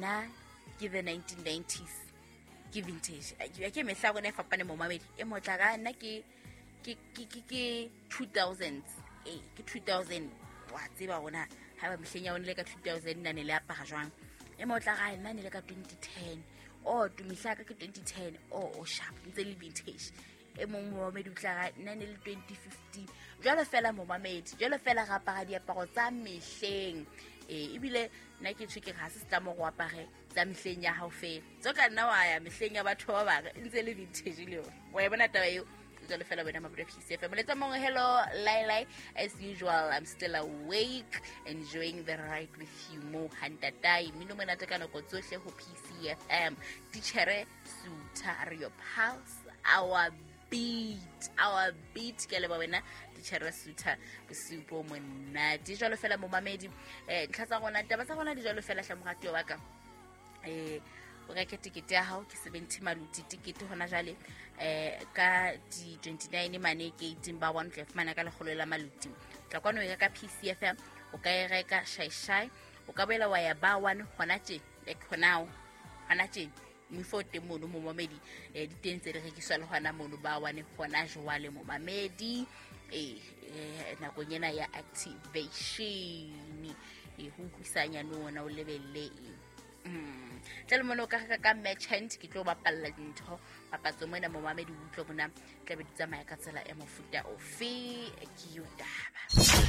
Nna ke the 1990s, ke vintage. Ke mehla ya rona e fapane, momamedi. E motla ka nna ke 2000s, ee, ke 2000. Wa tseba rona ha ba mehleng ya one le ka 2000 nna ne le apara jwang? E motla ka nna ne le ka 2010. O tumihla ka ke 2010. O sharp, ntse le vintage. E mong momamedi o tla ra nna ne le 2015. Jwalo fela, momamedi, jwalo fela re apara diaparo tsa mehleng. Ee, ebile nna ke tjho ke re ha se setlamo go apare tsa mehleng ya hao fela, tso ka nna wa ya mehleng ya batho ba bangwe, ntse le vintage le yona. Wa e bona taba eo? Jwalo fela wena mabuda PCFM moletsa mongwe. Hello lai, as usual I'm still awake, enjoying the ride with you mo hantatai mmino monate ka nako tsohle ho PCFM. Tichere Sutha re your pulse, our beat, our beat. Ke leba wena tichere Sutha, bosiu bo monate. Jwalo fela, momamedi, ntlha tsa rona, taba tsa rona di jwalo fela. Hle moratuwa wa ka, o reke tekete ya hao, ke 70 maluti tekete hona jwale. Ka di 29 mane gating ba one tla fumana ka 100 la maluti. Tla kwano e reka PCFM, o ka e reka shai shai, o ka boela wa ya ba one hona tje, like hona hona tje mifo o teng mono, momamedi. Di teng tse di rekiswa le hona mono ba one hona jwale, momamedi. Nakong ena ya activation ho utlwisanyane ona o lebelle eng. Tle le mone o ka reka ka merchant. Ke tlo bapalla dintho papatso mona, momamedi, o utlwe bona tlabe di tsamaya ka tsela e mofuta ofe. Ke yo taba.